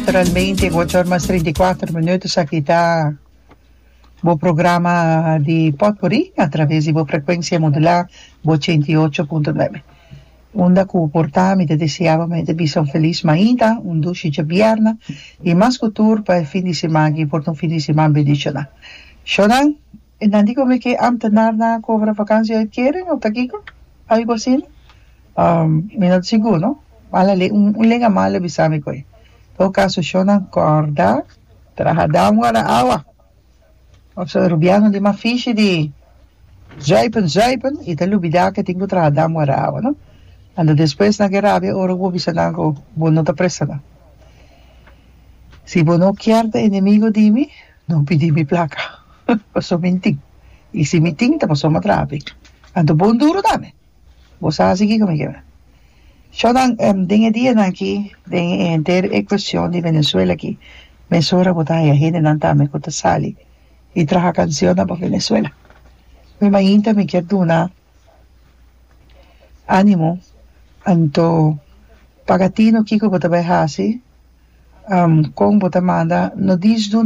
Naturalmente, ocho or mas 34 minuut, esaki ta bo programa di Potpourri a traves di bo frecuencia modulá bo 88.9. Unda cu por ta, mi ta desea bo mi ta bisa un feliz mainta, un dushi djabièrnè y mas cu tur pa e fin di siman aki por ta un fin di siman bendiciona. Shownan, e nan di como ke ambtenaarnan a cobra vakantie uitkering of ta kico? Algo asina? Mi no ta sigur no. Mala le un lenga malo bisa mi koe. Todo caso shownan corda traha dam guarda awa. Pasobra Rubiano di mas fishi di zuipen zuipen y ta lubida ke tin ku traha dam guarda awa no. Anto despues nan ke rabia ora ku bo bisa nan ku bo no ta presta nan. Si bo no kier ta enemigo di mi no pidi mi plaka pasobra mi tin y si mi tin ta pasobra mi a traha p'e. Anto bon duro tambe. Bo sa hasi kiko mi keda. Shownan, den e dianan aki, den e henter e cuestion di Venezuela aki, mesora bo ta haya hendenan tambe cu ta sali y traha cancionnan pa Venezuela. Mi mainta mi kier duna animo, anto paga tino kiko bo ta bay hasi, con bo ta manda, no dis duna.